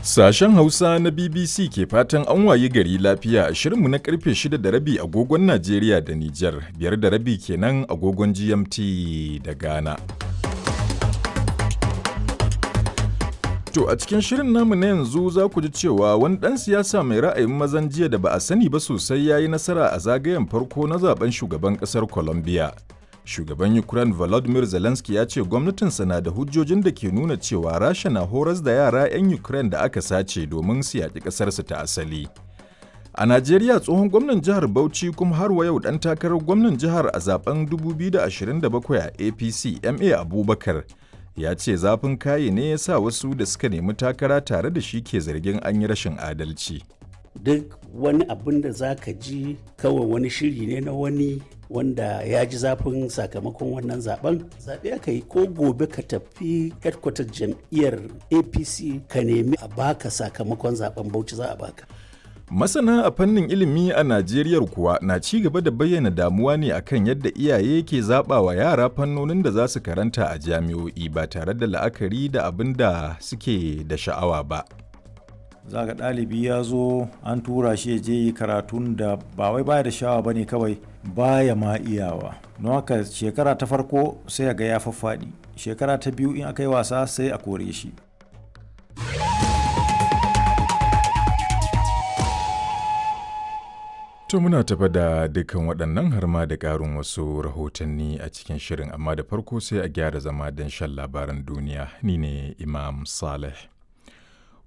Sashen Hausa na BBC ke fatan an wayi gari lafiya a shirinmu na karfe 6 da rabi agogon Najeriya da Nijar, 5:30 kenan agogon GMT da Ghana. To a cikin shirin namu na yanzu za ku ji cewa wani ɗan siyasa mai ra'ayin mazan jiya da ba a sani ba sosai ya yi nasara a zagayen farko na zaben shugaban ƙasar Colombia. Shugaban Ukraine Volodymyr Zelensky ya ce gwamnatinsa na da hujjojin da ke nuna cewa Rasha na horas da yara 'yan Ukraine da aka sace domin su yaƙi ƙasarsu ta asali. A Najeriya, tsohon gwamnan jihar Bauchi kuma har wa yau ɗan takarar gwamnan jihar a zaben 2027 a APC, MA Abubakar, ya ce zafin kaye ne ya sa wasu da suka nemi takara tare da shi ke zargin an yi rashin adalci. Duk wani abin da za ka ji kawai wani shiri ne na wani wanda ya ji zafin sakamakon wannan zaben. Zaɓe aka yi, ko gobe ka tafi headquarter jam'iyyar APC ka nemi a baka sakamakon zaben Bauchi, za a baka. Masana a fannin ilimi a Najeriya kuwa na ci gaba da bayyana damuwa ne akan yadda iyaye ke zaɓa wa yara fannonin da za su karanta a jami'o'i ba tare da la'akari da abin da suke da sha'awa ba. Za ga ɗalibi ya zo an tura shi ya je yi karatun da ba wai baya da sha'awa ba ne, kawai baya ma iyawa. Don haka shekara ta farko sai ga ya faffaɗi, shekara ta biyu in aka yi wasa sai a kore shi. To muna tafa da dukkan waɗannan har ma da ƙarin wasu rahotanni a cikin shirin, amma da farko sai a gyara zama don shan labaran duniya. Ni ne Imam Saleh.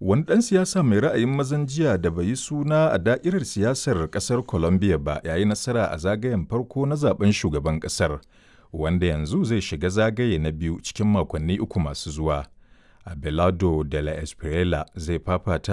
Wani ɗan siyasa mai ra'ayin mazan jiya da bai yi suna a da'irar siyasar ƙasar Colombia ba ya yi nasara a zagayen farko na zaben shugaban ƙasar, wanda yanzu zai shiga zagaye na biyu cikin makonni 3 masu zuwa. Abelardo de la Espriella zai fafata